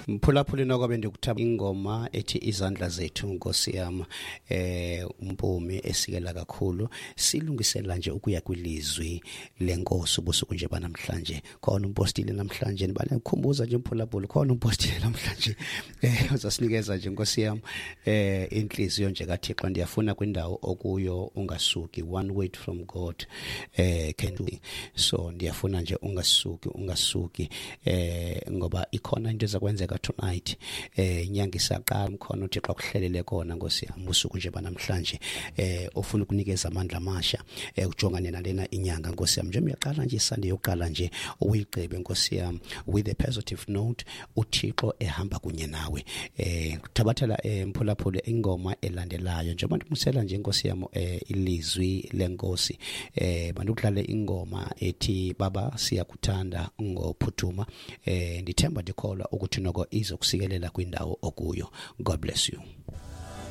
Mphulaphuli, noko bendikuthaba ingoma ethi "Izandla Zethu", Nkosi yam, uMpumi esikela kakhulu. Silungisela nje ukuya kwilizwi lenkosi ubusuku nje banamhlanje. Khona umpostile namhlanje, ndibale kukhumbuza nje mphulaphuli, khona umpostile namhlanje uzasinikeza nje, Nkosi yam, inhliziyo nje kaThixo. Ndiyafuna kwindawo okuyo ungasuki. One word from God can do so. Ndiyafuna nje ungasuki, ungasuki, ngoba ikhona into ezakwenzeka tonight. Inyanga isaqala, khona uThixo akuhlelele kona, Nkosi yam, usuku nje banamhlanje, ofuna ukunikeza amandla amasha ujongane nalena inyanga, Nkosi yam. Nje uyaqala nje iSunday yokuqala nje uyigqibe, Nkosi yam, with a positive note, uThixo ehamba kunye nawe. Thabathela, mphulaphuli, ingoma elandelayo njengoba ndimusela nje, Nkosi yam, ilizwi lenkosi. Bandukudlale ingoma ethi "Baba Siyakuthanda" ngoPhuthuma. Ndithemba, ndikholwa ukuthi noko izokusikelela kwindawo okuyo. God bless you.